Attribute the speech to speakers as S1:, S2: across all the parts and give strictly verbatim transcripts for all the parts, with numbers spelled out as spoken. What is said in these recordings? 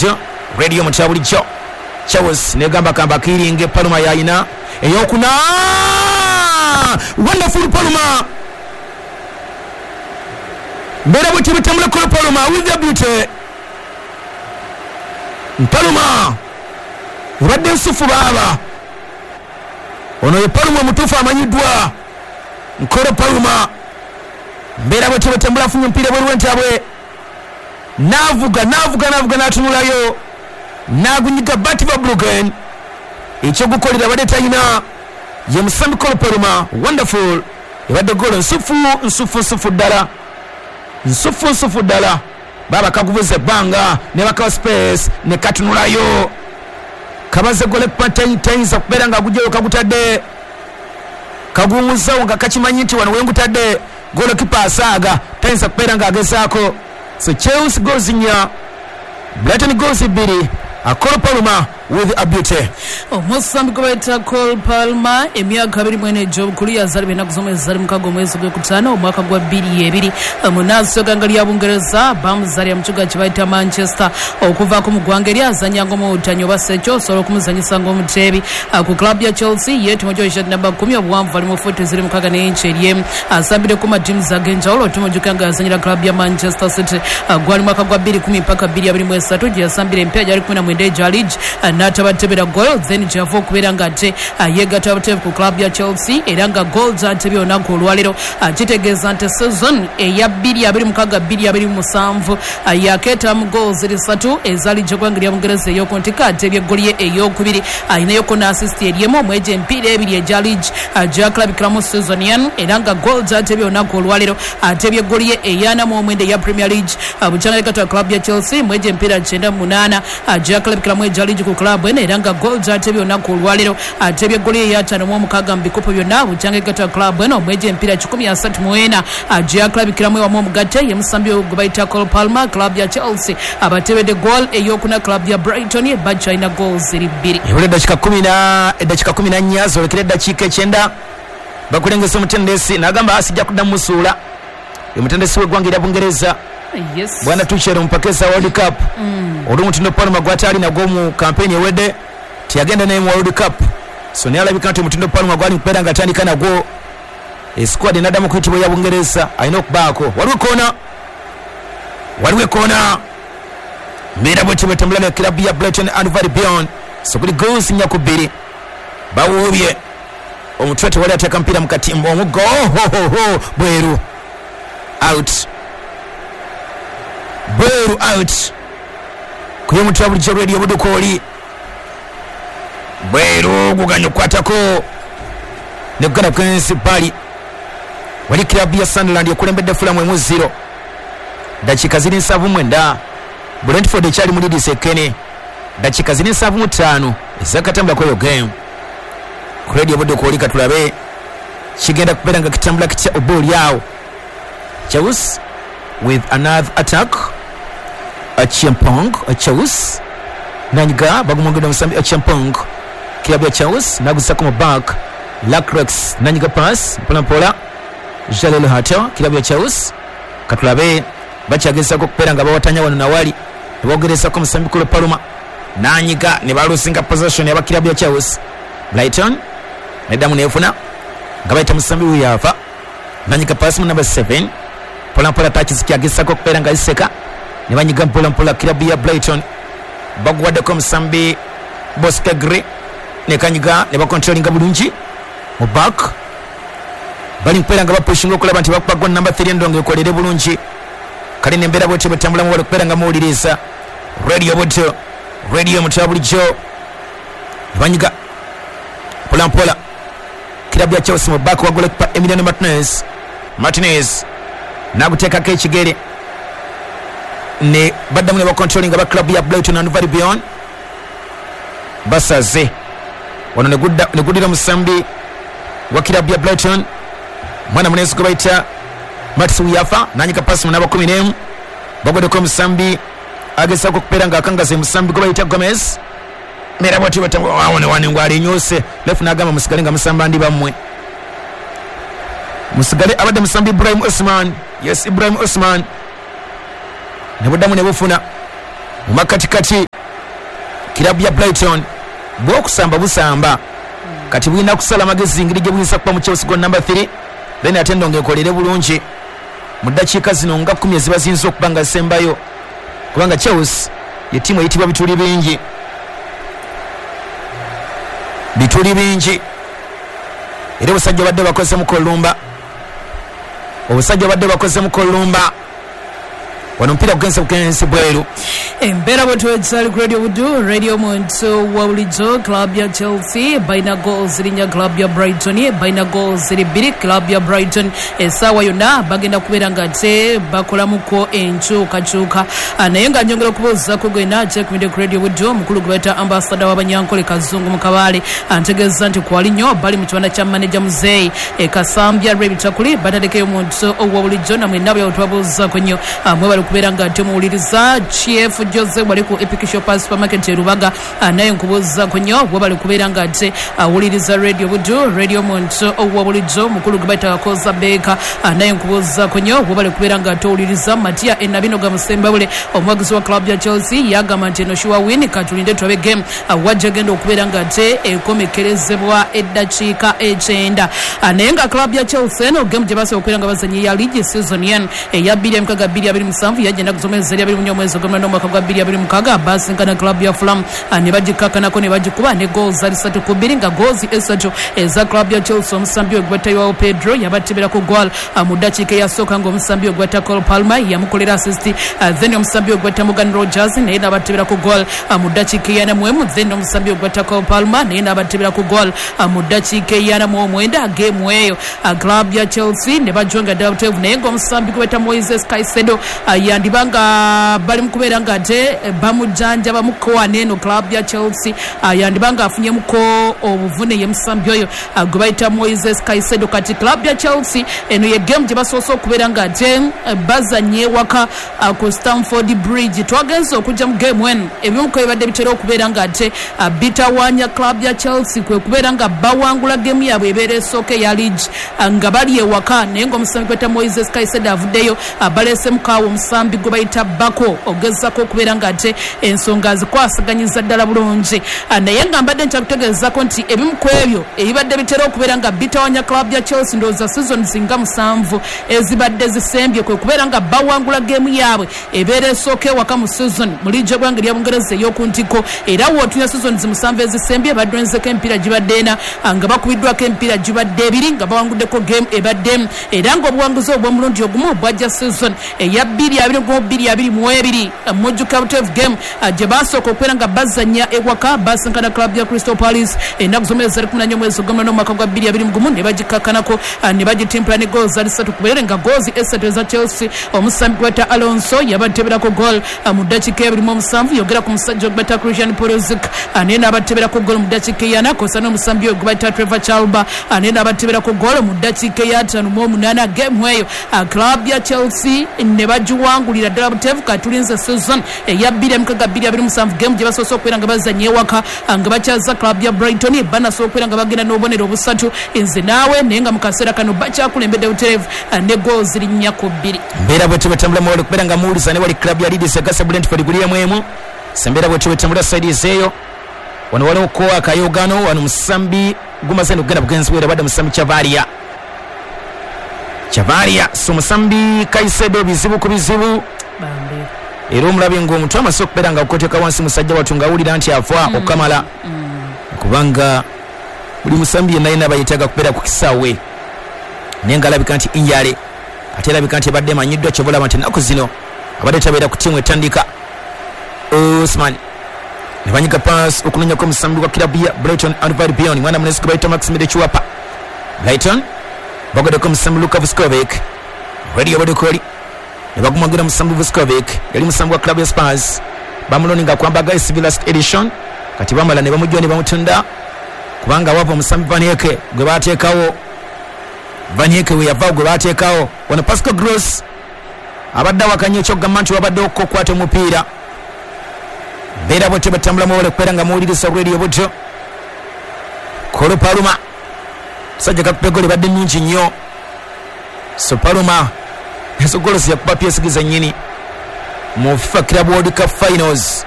S1: Buto Radio mutya bulijjo. Chelsea negamba kamba kiringe Palma yayina eyokuna. Wonderful Palma. Mbera buti bitambula kolo Palma with the beauty. Palma obadde nsufu baba. Ono ye Palma mutuufu amanyiddwa Nkolo Palma. Mbera bwetyo bwetambula afunye omupiira bweru w'entabwe, n'avuga n'avuga n'avuga n'atunulayo n'agunyiga Bart Verbruggen. Ekyokukolera abadde talina ye musambi Kolo Palma. Wonderful, ebadde goolo nsufu nsufu nsufu ddala, nsufu nsufu ddala. Baba kaguvuza ebbanga ne bakawa space ne katunulayo kabaze gole tayinza kubeera nga agugyeyo kagutadde kaguwuzawo nga kakimanyi nti wano wengutadde golokipa asaaga tayinza kubeera nga agezaako. So Chelsea goals nnya, Brighton goals bbiri, Cole Palmer with a beauty.
S2: Omusambi gwe bayita Cole Palmer emyaka abiri mu ena egy'obukulu, yazaalibwa ennaku z'omwezi zali mukaaga omwezi gw'okutaano omwaka gwa bbiri ebiri munaasooka ggwanga lya Bungereza. Bamuzaalira mu kibuga kye bayita Manchester. Okuvaako mu ggwanga eri azannya ng'omuwutanyi oba sekyo osobola okumuzannyisa ng'omuteebi ku club ya Chelsea. Ye tumujjo shirt namba kkumi, obuwanvu ali mu fuuti ziri mukaaga n'inchi eryemu. Asambire ku matiimu ag'enjawulo. Tumujjuka nga yazannyira club ya Manchester City gwali mwaka gwa bbiri kumi mpaka bbiri abiri mu esatu gye yasambira empya gyali kumi na mwenda egya league n'atabatebera goal, then gyava okubeera nga ate yeegatta buteevu ku club ya Chelsea era nga goal z'atebye olunaku olwaleero. Kitegeeza nti season eya bbiri abiri mukaaga bbiri abiri musanvu yakeeta mu goal ziri ssatu ezaali gy'eggwanga lya Bungereza ey'oku ntikko. Atebye eggoli ye ey'okubiri, ayinayoko n'assist eryemu omwegyo emipiira ebiri egya league gyakulabikiramu season eno era nga goal z'atebye olunaku olwaleero. Atebye eggoli ye ey'ana mu omwenda eya Premier League bukyanga yegatta club ya Chelsea mwegyo emipiira kyenda mu munaana gyakulabikiramu egya league ku club eno era nga goal z'atebye olunaku olwaleero. Atebye eggoli ye ey'ataano mu omukaaga mu bikopo byonna bukyanga yegatta club eno omwegyo emipiira kikumi asatu mu ena gyakulabikiramu ewamu omugatte. Ye musambi gwe bayita Cole Palmer, club ya Chelsea abatebedde goal ey'okuna club ya Brighton bakyalina goal ziri bbiri.
S1: Ebula eddakiika kumi na eddakiika kumi na nnya zoolekera eddakiika ekyenda. Bakulengesa omutendesi n'agamba asijja kuddamu musuula. Omutendesi w'eggwanga erya Bungereza
S2: Yes.
S1: Bwana Tuchel omupakesa World Cup.
S2: Mm.
S1: Olw'omutindo Palmer gw'atali nagwo mu kampeyini ewedde teyagenda naye mu World Cup. So naye alabika nti omutindo Palmer gwali mukubeera nga atandika nagwo esquad enaddamu okuyitibwa eya Bungereza alina okubaako. Waliwo ekoona, waliwo ekoona mbeera bwetyo bwetambula ne club ya Brighton and Hove Albion. So kuli goals nnya ku bbiri bawuubye omutwe tewali ateeka mupiira mu katimba omuggo ohohoho bweru out, bweru out kuye mutwe bulijjo Radio Budukooli bweru guganya okukwatako ne kugenda ku bali. Wali club ya Sunderland ekulembedde Fulham emu zero, dakiika ziri nsanvu mwenda. Brentford ekyali mu Leeds ekene, dakiika ziri nsanvu mu ttaano ezakatambula kweyo game. Ku Radio Budukooli katulabe kigenda kubeera nga kitambula kitya oba oli awo. Chelsea with another attack. Achiempong, Chelsea nanyiga bagumwongedde omusambi Achiempong, club ya Chelsea nagusako mu back. Lacroix nanyiga pass mpola mpola Jalel Hato, club ya Chelsea katulabe bakyagezako okubeera nga bawatanya wano nawali nebogerezako omusambi Cole Palmer nanyiga ne balusinga possession aba club ya Chelsea. Brighton neddamu nefuna nga bayita musambi wiyafa nanyiga pass mu number seven mpola mpola touches kyagezako okubeera nga iseka ne banyiga mpola mpola club ya Brighton baguwaddeko omusambi Boskegre ne kanyiga ne bakontrolinga bulungi mu back. Bali mpeera nga bapushinga okulaba nti bakuba goal number three endongo ekolere bulungi. Kale nembeera bwetyo bwetambulamu wali okubeera nga muwuliriza Radio Buto Radio mutya bulijjo. Ne banyiga mpola mpola club ya Chelsea mu back wa goalkeeper Emiliano Martinez. Martinez naguteekako ekigere ne baddamu ne bakontrolinga ba club ya Brighton and Hove Albion. Basaze wano ne guddira musambi wa club ya Brighton mwana munenzi gwe bayita Mats Wiyafa nanyika pasi mu namba kumi n'emu bagoddeko omusambi agezaako okubeera ng'akangaza omusambi gwe bayita Gomez. Mera bwatyo batangwa wane ngwalinyuse lefu n'agamba musigale nga musamba ndi bammwe musigale. Abadde musambi Ibrahim Osman, yes Ibrahim Osman ne buddamu ne bufuna Mu makatikati kirabu ya Brighton bwokusamba busamba kati bulina kusala amagezi ngeri gye buyinza kuba mu Chelsea goal number three, then ate ndongo ekolere bulungi mu ddakiika zino nga kkumi eziba ziyinza okuba nga zisembayo, kubanga Chelsea ye ttiimu eyitibwa bituli bingi, bituli bingi. Era obusajja badde bakoze mu kolumba, obusajja badde bakoze mu kolumba. Wano mpira kugenza kugenza bweru.
S2: Embeera bwetwetsali ku Radio Budu, Radio Muntu wa bulijjo. Club ya Chelsea balina goals ziri nnya, club ya Brighton balina goals ziri bbiri. Club ya Brighton essaawa yonna bagenda kubeera nga ate bakolamuko enkyukakyuka. Naye nga njongera okubuuzaako gwena kyekumidde ku Radio Budu, omukulu gwe bayita ambasada w'Abanyankole Kazungu mu Kabaale antegeeza nti kwali nnyo bali mu kibanda kya maneja Muzeeyi e Kasambya lw'ebitakuli batatekeyo omuntu owa bulijjo. Namwe nabo twabuuzaako nnyo mwebale kubeera nga ate muwuliriza. Chief Jose wali ku Epic Shop Supermarket e Rubaga, naye nkubuuzaako nnyo webale kubeera nga ate awuliriza Radio Budu, Radio Muntu owa bulijjo. Mukulu gwe bayita Kakoza Baker, naye nkubuuzaako nnyo webale kubeera nga ate owuliriza. Matia Enabinoga Musembabule omuwagizi wa club ya Chelsea yagamba nti eno sure win, katulinde tulabe game wajja genda okubeera nga ate ekomekerezebwa eddakiika ekyenda. Naye nga club ya Chelsea eno game gye basobola okubeera nga bazannya ya league season yen eya bbiri mukaaga bbiri abiri musanvu yagenda kusomeza eri abiri mu nnya omwezi ogw'omunaana omwaka gwa bbiri abiri mukaaga basinkana club ya Fulham ne bagikakkanako ne bagikuba ne goals zali ssatu ku bbiri, nga goals esatu eza club ya Chelsea omusambi we gwetayiwawo Pedro yabatebera ku goal mu ddakiika eyasooka ng'omusambi we gweta Cole Palmer yamukolera assist, then omusambi we gweta Morgan Rogers naye n'abatebera ku goal mu ddakiika eyana mu emu, then omusambi we gweta Cole Palmer naye n'abatebera ku goal mu ddakiika eyana mu omwenda. Game eyo club ya Chelsea ne bajonga ddala buteevu, naye ng'omusambi gweta Moises Caicedo yandibanga bali mu kubeera nga ate bamujjanja bamukowa n'eno club ya Chelsea yandibanga afunyemuko obuvune ye musambi oyo gwe bayita Moises Caicedo. Kati club ya Chelsea eno ye game gye basoose okubeera nga ate bazanye waka ku Stamford Bridge. Twagenze okujja mu game eno ebimu ku ebibadde bitera okubeera nga ate bitawaanya club ya Chelsea kwe kubeera nga bawangula game yaabwe ebeera esooka eya league nga bali ewaka, naye ng'omusambi gweta Moises Caicedo avuddeyo baleesemukaawo omusambi gwe bayita Bako ogezaako okubeera nga ate ensonga zikwasaganyiza ddala bulungi. Naye nga mbadde nkyakutegeezaako nti ebimu ku ebyo ebibadde bitera okubeera nga bitawanya club ya Chelsea ndowooza seasons nga musanvu ezibadde zisembye kwe kubeera nga bawangula game yaabwe ebeera esooka ewaka mu season mu liigi y'eggwanga erya Bungereza ey'oku ntikko. Era wootunya seasons musanvu ezisembye badwenzeko emipiira gibadde ena nga bakubiddwako emipiira gibadde ebiri nga bawanguddeko game ebadde, era ng'obuwanguzi obw'omulundi ogumu bwajja season eya bbiri abiri mu bbiri abiri mu ebiri mujjuka buteevu game gye basooka okubeera nga bazannya ewaka basinkana club ya Crystal Palace ennaku z'omwezi zali kumi na nnya omwezi ogw'omunaana omwaka gwa bbiri abiri mu gumu ne bagikakkanako ne bagitimpula ne goals zali ssatu ku bwerere, nga goals esatu eza Chelsea omusambi gweta Alonso yabateberako goal mu ddakiika ebiri mu omusanvu, yogera ku musajja ogweta Christian Pulisic naye n'abateberako goal mu ddakiika eyana, kw'ossa n'omusambi oyo gwe bayita Trevor Chalobah naye n'abateberako goal mu ddakiika ey'ataano mu omunaana. Game eyo club ya Chelsea ne bagiwangulira ddala buteevu. Katulinze season eya bbiri mukaaga bbiri abiri musanvu game gye basoose okubeera nga bazannya ewaka nga bakyaza club ya Brighton banasobola okubeera nga bagenda n'obubonero obusatu nze naawe, naye nga mu kaseera kano bakyakulembedde buteevu ne goals ziri nnya ku bbiri.
S1: Mbeera bwetyo bwetambula mwewale okubeera nga muwuliza ne wali club ya Leeds egasa Brentford guli emu emu. Sembeera bwetyo bwetambula side eyo wano waliwo ko akayogano wano musambi gumaze okugenda bugenzi bwera badde musambi Chavaria Chavaria so musambi Caicedo bizibu ku bizibu
S2: bambi,
S1: era omulabi ng'omuntu amaze okubeera nga akoteka wansi musajja wattu ng'awulira nti afa mm. okukamala mm. kubanga buli musambi yenna yenna bayetaaga kubeera ku kisaawe, naye ng'alabika nti injale ate erabika nti ebadde emanyiddwa kyoba olaba nti ennaku zino abadde tabeera ku ttiimu etandika. Osman ne banyiga pass okunoonyako omusambi wa kirabu ya Brighton and Albion mwana munesi gwe bayita Maxime Chiwapa. Brighton bagoddeko omusambi Luka Vuskovic Radio Bodokoli ne bagumwagira musambi Vuskovic yali musambi wa club ya Spurs bamuloninga kwambaga S V last edition kati bamala ne bamujja ne bamutunda kubanga wapo musambi Van Hecke gwe bateekawo Van Hecke we yava gwe bateekawo wano Pascal Gross abadde awakanya ekyokugamba nti wabadde okukwata omupiira. Mbeera bwetyo batambula mwewale okubeera nga muwuliriza Radio Budo. Cole Palmer musajja kakupa eggoolo ebadde nnungi nnyo, so Palmer ezo goolo yakuba P S G zennyini Mu FIFA Club World Cup Finals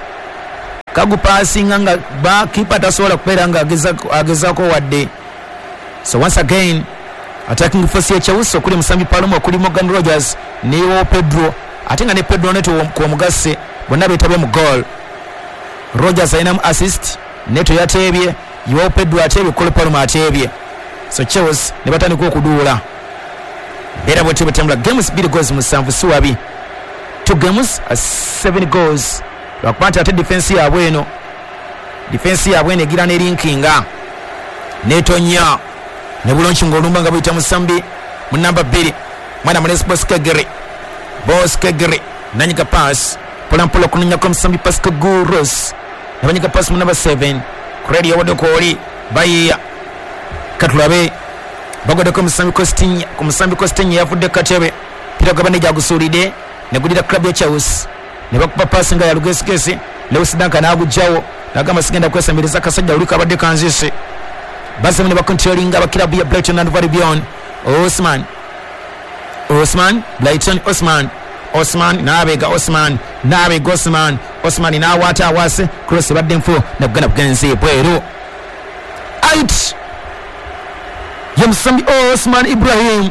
S1: kagupasinga nga bakipa tasobola kubeera nga agezaako wadde. So once again attacking force ya Chelsea okuli Musambi Paloma, okuli Morgan Rogers ne Pedro, ate nga ne Pedro Neto kwomugase bonna beetabye mu goal. Rogers alinamu assist, Neto yateebye, Joao Pedro ateebye, Cole Palmer ateebye. So Chelsea ne batandika okuduula. Mbeera bwetyo bwetambula games bbiri goals musanvu si wabi, two games seven goals. Lwakuba nti ate defense yaabwe eno defense yaabwe eno egira nelinkinga netonya ne bulonki ng'olumba nga buyita Musambi mu namba bbiri mwana mulesi Boskegere Boskegere nanyiga pass mpolampola okunoonyako Musambi Pascal Gross nabanyiga pass mu namba seven Credi yawaddeko oli bayiya katulabe bagoddeko Musambi Costinha ku Musambi Costinha yavudde katebe pira gabane gyagusuulidde negulira club ya Chelsea ne bakuba pass nga ya lugesigesi Lewis Dunk n'agugjawo n'agamba sigenda kwesamiriza akasajja oli kabadde kanzise. Bazemu ne bakontrolinga aba club ya Brighton and Albion. Osman Osman Brighton Osman Osman n'abega Osman n'abega Osman Osman n'awaata awase cross ebadde nfu nagana bugenzi bweru out ye Musambi Osman Ibrahim.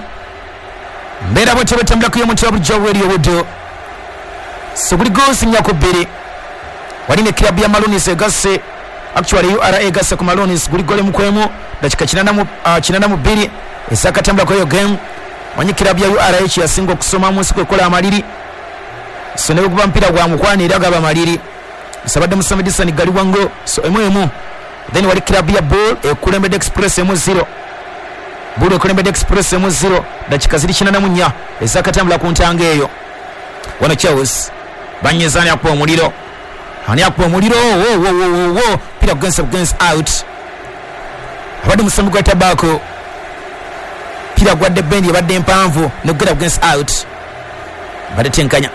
S1: Mbeera bwetyo bwetambulako y'omuntu wa bulijjo Radio Buddo. So buli goals nnya ku bbiri wali ne club ya Maroons egasse, actually U R A egasse ku Maroons guli gole mukwemu dakika kinana mu bbiri ezakatambulako eyo game. Manyi club ya U R A yasinga okusoma mu nsi kwekola amaliri, so ne bweguba mpira gwa mukwano era gaba maliri. Sabadde Musambi Disani Galiwango so emu emu. Then wali club ya Bull ekulembedde Express emu zero, Bull ekulembedde Express emu zero dakika ziri kinana mu nnya ezakatambula ku ntanga eyo. Wano Chelsea banyeza ani akuba omuliro, ani akuba omuliro wo wo wo wo pira kugenza kugenza out abadde Musambi gwa Tabako pira gwadde bendi ebadde empanvu negugenda kugenza out badde tenkanya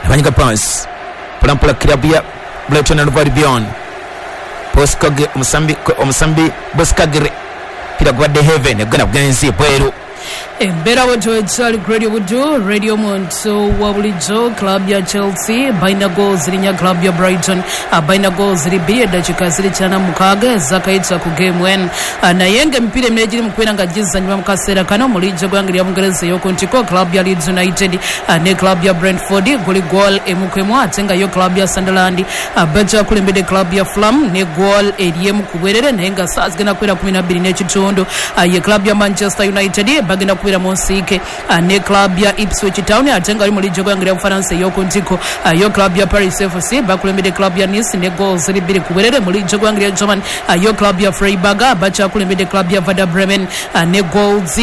S1: nabanyiga pass mpolampola club ya Brighton and Albion Boskage Musambi Omusambi Boskagere pira gwadde heaven negugenda kugenza bweru.
S2: Embeera bwetyo ekyali Radio Buddo Radio Muntu wa bulijjo. Club ya Chelsea balina goal ziri nnya, club ya Brighton balina goal ziri bbiri, eddakiika ziri kyana mukaaga ezakayita ku game one. Naye ng'emipiira emirala egiri mu kubeera nga gizannyibwa mu kaseera kano mu liigi y'eggwanga lya Bungereza ey'oku ntikko, club ya Leeds United ne club ya Brentford guli goal emu ku emu, ate nga yo club ya Sunderland bakyakulembedde club ya Fulham ne goal eri emu ku bwerere, naye nga ssaawa zigenda kubeera kumi na bbiri n'ekitundu ye club ya Manchester United bagenda kubeera mu nsiike ne club ya Ipswich Town, ate nga ali mu liigi y'eggwanga lya Bufalansa ey'oku ntikko yo club ya Paris F C bakulembedde club ya Nice ne goal ziri bbiri ku bwerere. Mu liigi y'eggwanga lya German yo club ya Freiburg bakyakulembedde club ya Werder Bremen ne goals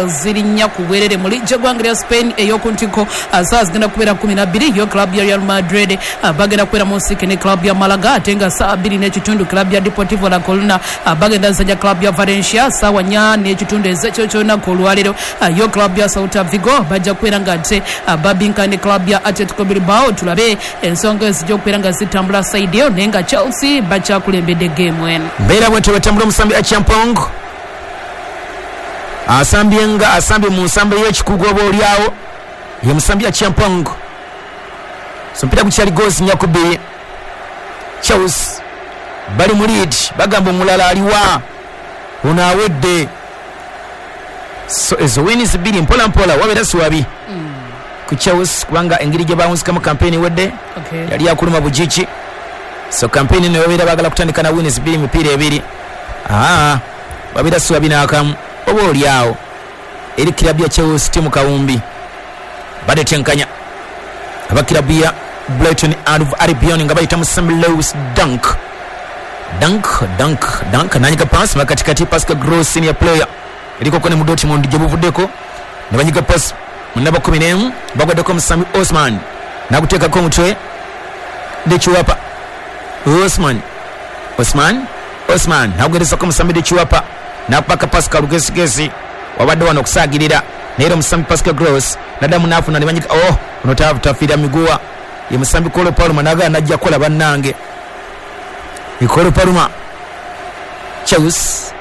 S2: ziri nnya ku bwerere. Mu liigi y'eggwanga lya Spain ey'oku ntikko ssaawa zigenda kubeera kumi na bbiri yo club ya Real Madrid bagenda kubeera mu nsiike ne club ya Malaga, ate nga ssaawa bbiri n'ekitundu club ya Deportivo La Coruna bagenda zanya club ya Valencia ssaawa nnya n'ekitundu ez'ekiro ky'olunaku olwaleero. Yo club ya Celta Vigo bajja kubeera nga ate babinka ne club ya Atletico Bilbao. Tulabe ensonga ezijja okubeera nga zitambula side eyo, naye nga Chelsea bakyakulembedde game eno.
S1: Mbeera bwetyo bwetambula Omusambi Achampong asambye nga asambye mu nsambo y'ekikugu oba oliawo ye Musambi Achampong. So mpira gukyali goals nnya ku bbiri. Chelsea bali mu lead, bagamba omulala aliwa ono awedde. So ezo wins bbiri mpola mpola wabeera si wabi mm. ku Chelsea kubanga engeri gye bawunzikamu kampeyini wedde
S2: okay.
S1: yali yakuluma bugiki. So kampeyini eno babeera baagala kutandika na wins bbiri mipiira ebiri, aa wabeera si wabi n'akamu oba oli awo eri club ya Chelsea timu kawumbi badde tenkanya aba club ya Brighton and Albion nga bayita Musambi Lewis Dunk Dunk Dunk Dunk nanyiga pass makatikati Pascal Gross senior player eriko kone mu Dortmund gye buvuddeko ne banyiga pass mu namba kumi n'emu bagwaddeko Musambi Osman naguteekako omutwe Dechiwapa Osman Osman Osman nagugerezako Musambi Dechiwapa nakupaka Pascal lugesigesi wabadde wano okusaagirira naye era Musambi Pascal Gross naddamu n'afuna ne banyiga oh ono tafiira miguwa ye Musambi Cole Palmer nagala najja kukola bannange Cole Palmer Chelsea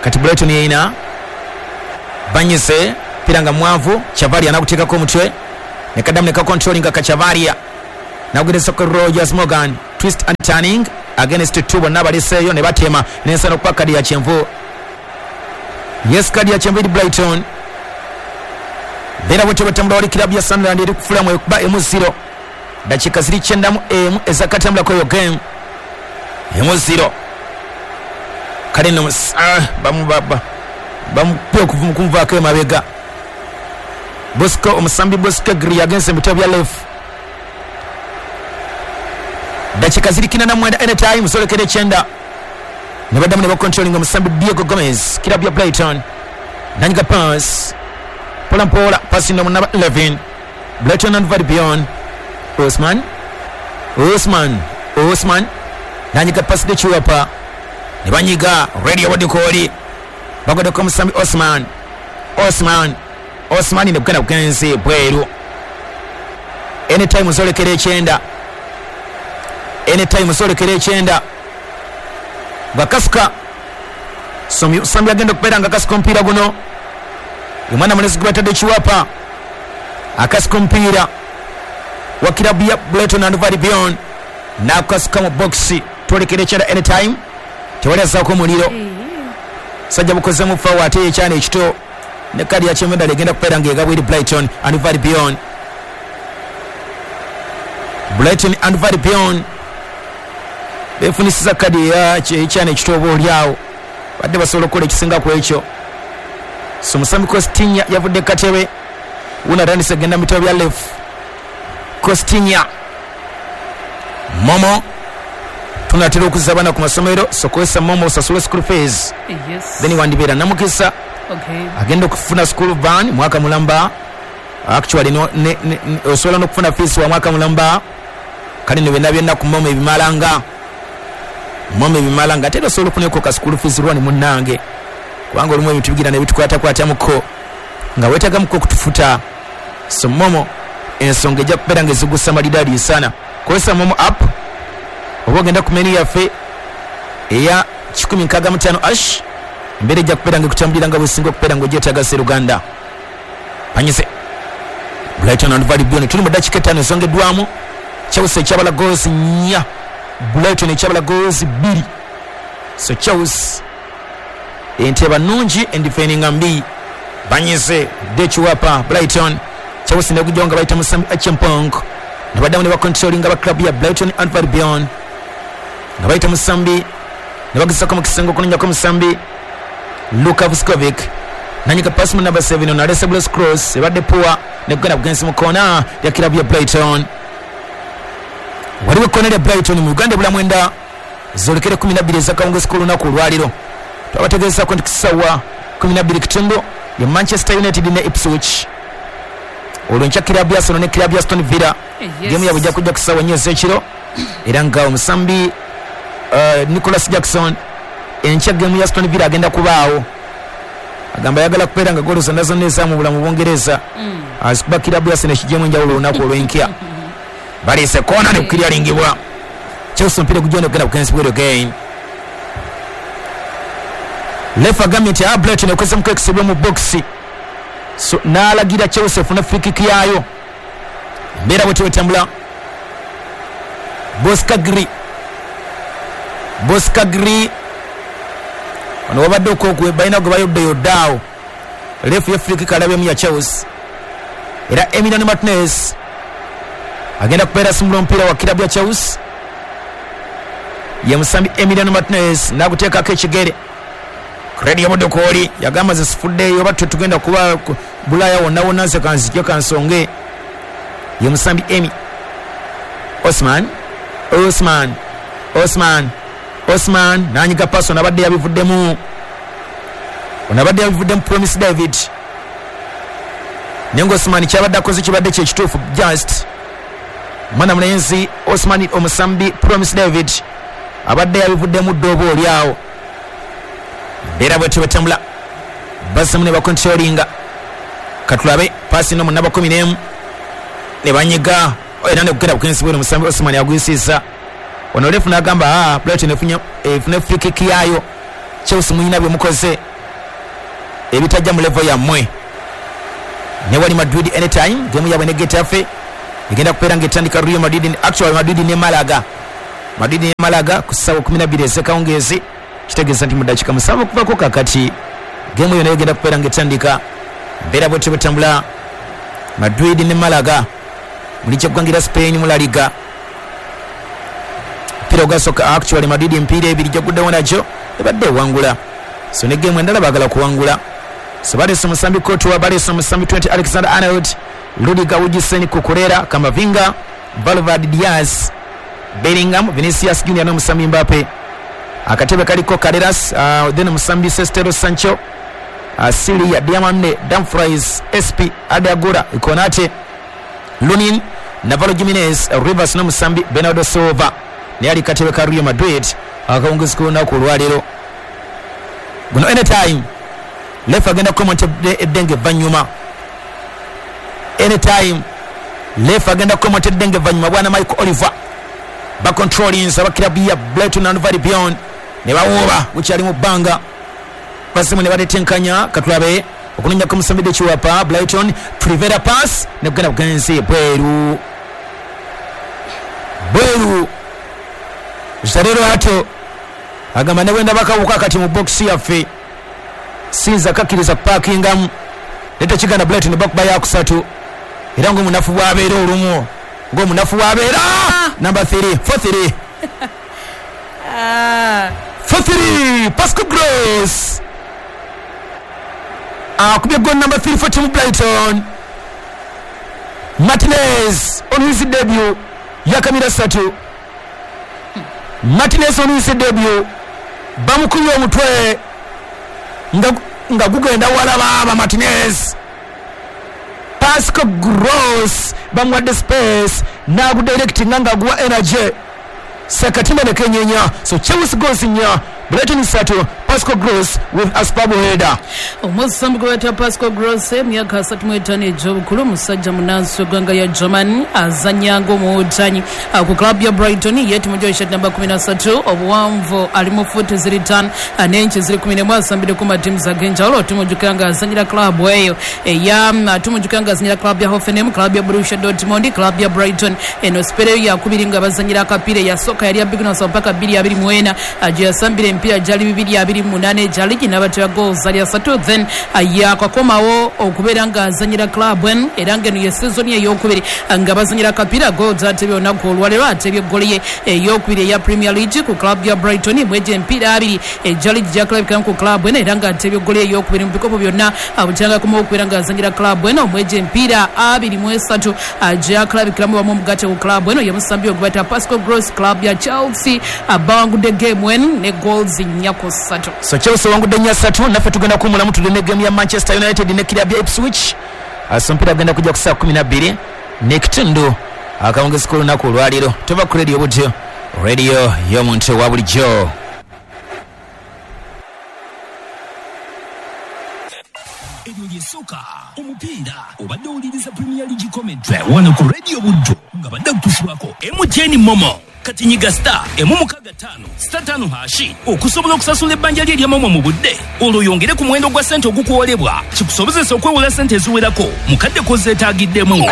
S1: kati Brighton yeina banyise pira nga mwavu Chavali anakuteekako omutwe Ne kaddamu ne kacontrollinga Kachavaria, nakugereza ku Rogers Morgan, twist and turning against two, bonna baliseeyo ne batema n'ensana okuba kadi ya kyenvu. Yes, kadi ya kyenvu eri Brighton. Beera bwetyo bwetambula. Wali kirabu ya Sunderland eri kufulamu ekuba emu zero, dakiika ziri kyenda mu emu ezakatambulako eyo game, emu zero. Kale nno bamupye okumuvaako emabega. Bosco, omusambi Bosco Gri yagenze mu bitabo bya left. Dakiika ziri kina na mwenda, anytime zolekera ekyenda. Ne baddamu ne bacontrollinga omusambi Diego Gomez, kirabu ya Brighton, nanyiga pass mpola mpola, pasi no number eleven, Brighton and Albion. Osman, Osman, Osman nanyiga pasi de Chiwapa, ne banyiga radio wadikoli bagodeko omusambi Osman, Osman, Osman ne kugenda kugenzi bweru. Anytime zolekera ekyenda, anytime zolekera ekyenda. Bakasuka sambi agenda okubeera nga akasuka omupiira guno, omwana mulezi gwe batadde Chiwapa akasuka omupiira wa kirabu ya Brighton and Albion n'akasuka mu bokisi. Twolekera ekyenda, anytime tewali azzaako omuliro. Sajja bukozemu fawo ate ekyana ekito ne kadi ya kyenvu endala egenda kubeera ng'egabwa eri Brighton and Albion. Brighton and Albion befunisiza kadi ekyana ekito oba oliawo badde basobola okukola ekisinga ku ekyo. So musambi Costinya yavudde katebe, wuno atandise genda mu bitabo bya left. Costinya Momo, tunatera okuzza abaana ku masomero, so kozesa Momo osasule school fees.
S2: Yes.
S1: Then wandibeera namukisa.
S2: Okay.
S1: Agenda okufuna school van mwaka mulamba, actually no, ne, ne, osobola n'okufuna fees wa mwaka mulamba. Kale ne byonna byonna ku Momo ebimalanga, Momo ebimalanga, ate era osobola okufunako ka school fees lwani munnange, kubanga olumu ebintu bigira ne bitukwatakwatamuko nga weetagamuko okutufuta. So Momo ensonga ejja kubeera nga ezigusa malidaadi sana. Kozesa Momo app oba ogenda ku menu yaffe eya kikumi nkaaga mu ttaano ash, embeera ejja kubeera nga ekutambulira nga bwesinga okubeera nga ogyetaaga Sseruganda. Panyise Brighton and Albion, tuli mu ddakiika ettaano ezongeddwamu. Chelsea ekyabala goals nnya, Brighton ekyabala goals bbiri. So Chelsea enteba nnungi, endifendinga mbi. Banyize Dechiwapa Brighton, Chelsea nekujjawo nga bayita musambi Achimpong, ne baddamu ne bacontrollinga ba club ya Brighton and Albion nga bayita musambi ne bagezako mu kisenge okunonyako musambi Luka Vuskovic, nanyika pasi mu number seven, ono alese Blues Cross ebadde poor nekugenda kugenzi mu koona ya club ya Brighton. Waliwo ekkoona lya Brighton mu Uganda ebula mwenda zolekere kumi na bbiri ez'akawungeezi k'olunaku olwaleero. Twabategeezaako nti kussaawa kumi na bbiri kitundu ye Manchester United ne Ipswich, olwo enkya kirabu ya Arsenal ne kirabu ya Aston Villa.
S2: Yes.
S1: Gemu yabwe ejja kujja ku ssaawa nnya ez'ekiro, era nga omusambi uh, Nicholas Jackson enkya gemu ya Aston Villa agenda kubaawo, agamba ayagala kubeera nga goolo zonna zonna ezaamu bulamu Bungereza
S2: Mm.
S1: azikuba kirabu ya Arsenal ekiggyemu enjawulo olunaku olw'enkya. Baleese koona ne kukiryaringibwa. Chelsea omupiira gujja n'okugenda ku bweru again. Lefa agambye nti Brighton ekozemu ekisibwa mu bokisi, so n'alagira Chelsea efune free kick yaayo. Embeera bwetyo bwetambula. Bosca Gri, Bosca Gri ono wabadde okwo balina gwe bayoddeyodde awo. Refu ye free kick alabyemu ya Chelsea, era Emiliano Martinez agenda kubeera asimula omupiira wa kirabu ya Chelsea. Ye musambi Emiliano Martinez n'aguteekako ekigere. Kredi yabudde yagamba nze sifuddeeyo oba tetugenda kuba Bulaaya wonna wonna, nze kanzijje kansonge. Ye musambi Emi Osman, Osman, Osman, Osman nanyiga paso nabadde yabivuddemu, onabadde yabivuddemu Promise David, naye nga Osman kyabadde akoze kibadde kyekituufu. Just mwana mulenzi Osman omusambi Promise David abadde yabivuddemu dda oba oli awo. Embeera bwetyo bwetambula, bazzamu ne bacontrollinga. Katulabe pasi no mu namba kumi n'emu ne banyiga era nekugenda bukensi bwino omusambi Osman agwisiza. Ono refu n'agamba ah, Brighton efunye efune free kick yaayo, Chelsea muyina bye mukoze ebitajja mu level yammwe. Ne wali Madrid anytime game yabwe ne Getafe egenda kubeera ng'etandika Real Madrid, actually Madrid ne Malaga. Madrid ne Malaga ku ssaawa kumi na bbiri ez'akawungeezi, kitegeeza nti mu ddakiika musanvu okuvaako kakati game eyo nayo egenda kubeera ng'etandika. Mbeera bwetyo bwetambula Madrid ne Malaga muli kyeggwanga Spain mu La Liga. Mpira ogwasooka actually Madrid emipiira ebiri gyaguddewo nagyo ebadde ewangula, so ne game endala baagala kuwangula. So baleese omusambi Courtois, baleese omusambi Trent Alexander-Arnold, Rudiger, Hutchinson, Cucurella, Camavinga, Valverde, Diaz, Bellingham, Vinicius Junior n'omusambi Mbappe. Akatebe kaliko Carreras, uh, then omusambi Sestero Sancho, uh, Silia, Diamande, Dumfries, S P, Adagura, Konate, Lunin, Navarro Jimenez, Rivers n'omusambi Bernardo Silva. Naye ali katebe ka Real Madrid akawunguzi k'olunaku olwaleero. Guno anytime lefa agenda kukomanta eddenge evvannyuma. Anytime lefa agenda kukomanta eddenge evvannyuma. Bwana Michael Oliver bacontrollings abakirabu ya Brighton and Hove Albion ne bawuuba gukyali mu bbanga, basimu ne batetenkanya. Katulabe okunoonya kumusambi ekiwapa Brighton, Trivera pass ne kugenda bugenzi bweru bweru. Zarero ato agamba ne bwenda bakawuka kati mu box yaffe sinza kakkiriza kupakingamu leta kiganda Brighton bakuba yakusatu, era ng'omunafu bw'abeera olumu ng'omunafu bw'abeera number three four three four three Pascal Gross akubye goal number three for team Brighton. Martinez on his debut yakamira satu. Martinez on his debut bamukubye omutwe nga nga gugenda wala baba Martinez. Pascal Gross bamuwadde space n'agudirectinga nga guwa energy sakatimba ne kenyenya. So Chelsea goals nnya, Brighton satu, Pascal Gross with a superb header.
S2: Omusambi gweta Pascal Gross emyaka asatu mu etaano egy'obukulu, musajja munansi w'eggwanga lya Germany, azannya ng'omuwutanyi ku club ya Brighton. Ye timu shirt namba kumi na ssatu, obuwanvu ali mu fuuti ziri ttaano n'enki ziri kumi n'emu, asambidde ku matiimu ag'enjawulo. Tumujjukira nga azannyira club eyo eya tumujjukira nga azannyira club ya Hoffenheim, club ya Borussia Dortmund, club ya Brighton. Eno sipere yakubiri nga bazannyira akapiira eyasooka yali ya bibiri na mpaka bbiri abiri mu ena gye yasambira emipiira gyali bibiri abiri mu munaana egyali ginabatera goals ali asatu, then yakakomawo okubeera nga azannyira club eno, era ng'eno ye season ey'okubiri nga bazannyira akapiira. Goals atebye olunaku olwaleero, atebye eggoli ye ey'okubiri eya Premier League ku club ya Brighton mwegyo emipiira abiri egyali gyakulabikiramu ku club eno, era ng'atebye eggoli ey'okubiri mu bikopo byonna bukyanga okubeera nga azannyira club eno mwegyo emipiira abiri mu esatu gyakulabikiramu wamu omugatte ku club eno. Ye musambi ogweta Pascal Gross, club ya Chelsea abawangudde game eno ne goals nnya ku ssatu.
S1: So Chelsea wangudde nnya ssatu, naffe tugenda kuwummulamu tudde ne game ya Manchester United ne club ya Ipswich. So mpira genda kujja ku ssaawa kumi na bbiri n'ekitundu akawungezi k'olunaku olwaleero. Tuva ku radio butyo, radio y'omuntu wa bulijjo.
S3: Eryo lyesooka omupiira obadde owuliriza Premier League commentary wano ku Radio Buddu nga badde kutuusibwako M T N Momo. Kati nyiga star emu mukaaga ttaano star ttaano hashi okusobola okusasula ebbanja lye erya Momo mu budde, olwo oyongere ku muwendo gwa ssente ogukuwolebwa kikusobozesa okwewola ssente eziwerako mu kadde k'ozeetaagiddemu.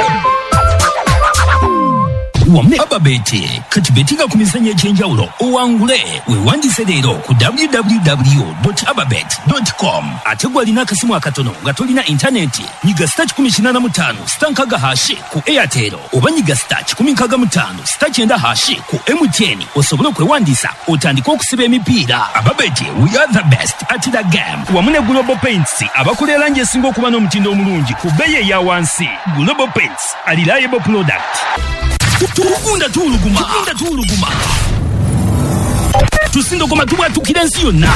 S3: Wamu ne Ababeti kati betinga ku mizannyo egy'enjawulo owangule. Weewandise leero ku w w w dot ababet dot com. Ate gw'alina akasimu akatono nga tolina intaneti, nyiga star kikumi kinaana mu ttaano star nkaaga hashi ku Airtel oba nyiga star kikumi nkaaga mu ttaano star kyenda hashi ku M T N osobole okwewandiisa otandike okusiba emipiira. Ababeti, we are the best at the game. Wamu ne Global Paints abakola erangi esinga okuba n'omutindo omulungi ku bbeeyi eya wansi. Global Paints, a reliable product. Tugunda tuuluguma, tugunda tuuluguma, tusindokoma tubwatukira ensi yonna.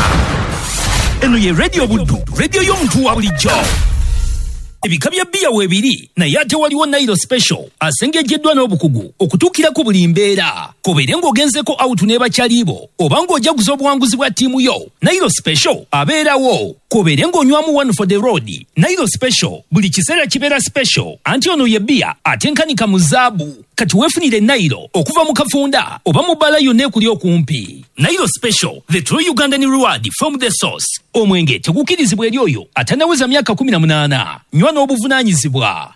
S3: Eno ye Radio Buddu, radio y'omuntu wa bulijjo. Ebika bya bbiya weebiri naye ate waliwo Nairo Special asengejjeddwa n'obukugu okutuukira ku buli mbeera. Kobeere ng'ogenzeko out ne bakyalibo oba ng'ojaguza obuwanguzi bwa ttiimu yo, Nairo Special abeerawo. Kobeere ng'onywamu one for the road, Nairo Special buli kiseera kibeera special, anti ono ye bbiya atenkanika mu zaabu. Kati weefunire Nairo okuva mu kafunda oba mu bbaala yonna ekuli okumpi. Nile Special, the true Ugandan reward from the source. Omwenge tegukirizibwa eri oyo atannaweza myaka kumi na munaana. Nywa n'obuvunaanyizibwa.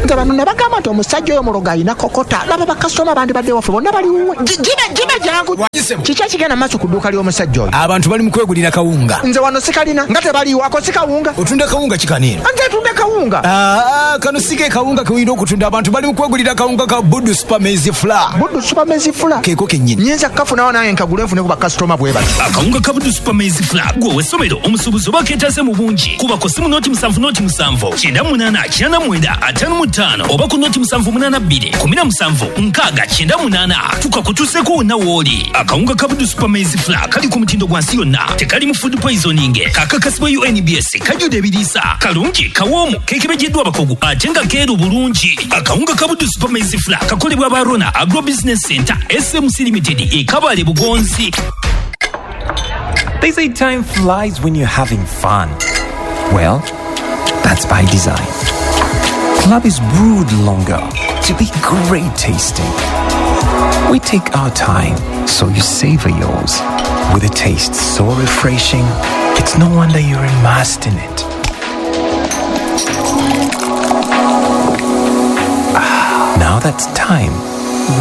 S4: Nze bano nabagamba nti omusajja oyo mulogo alina kokota. Laba bakasitoma bandibadde waffe bonna bali wuwe. Gibe gibe jangu. Kiki ekigenda maaso ku dduuka ly'omusajja oyo?
S5: Abantu bali mu kwegulira kawunga.
S4: Nze wano sikalina nga tebaliiwo, ako si kawunga.
S5: Otunda kawunga kikaniino?
S4: Nze tunda kawunga.
S5: Aa, kano si ke kawunga ke olina okutunda. Abantu bali mu kwegulira kawunga ka Budu Super Maize Flour.
S4: Budu Super Maize Flour?
S5: Keeko kennyini.
S4: Nnyinza kukafunawo nange nkagule nfune ku bakasitoma bwe bati.
S3: Akawunga ka Budu Super Maize Flour gwe ow'essomero, omusuubuzi oba keetaase mu bungi. Kuba ku ssimu noti musanvu noti musanvu kyenda munaana kyenda mwenda ataano mu ttaano oba ku noti musanvu munaana bbiri kumi na musanvu nkaaga kyenda munaana tukakutuuseeko wonna w'oli. Akawunga ka Budu Super Maize Flour kali ku mutindo gwa nsi yonna, tekalimu food poisoning, kakakasibwa U N B S, kajjudde ebiriisa, kalungi, kawoomu, keekebejjeddwa abakugu ate nga keeru bulungi. Akawunga ka Budu Super Maize Flour kakolebwa aba Rona Agro Business Center S M C Limited e Kabale Bugonzi.
S6: They say time flies when you're having fun. Well, that's by design. Club is brewed longer to be great tasting. We take our time so you savor yours. With a taste so refreshing, it's no wonder you're immersed in it. Ah, now that's time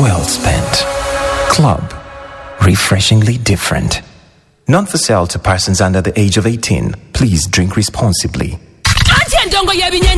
S6: well spent. Club, refreshingly different. Not for sale to persons under the age of eighteen. Please drink responsibly.
S2: Ate endongo y'ebinyeenya.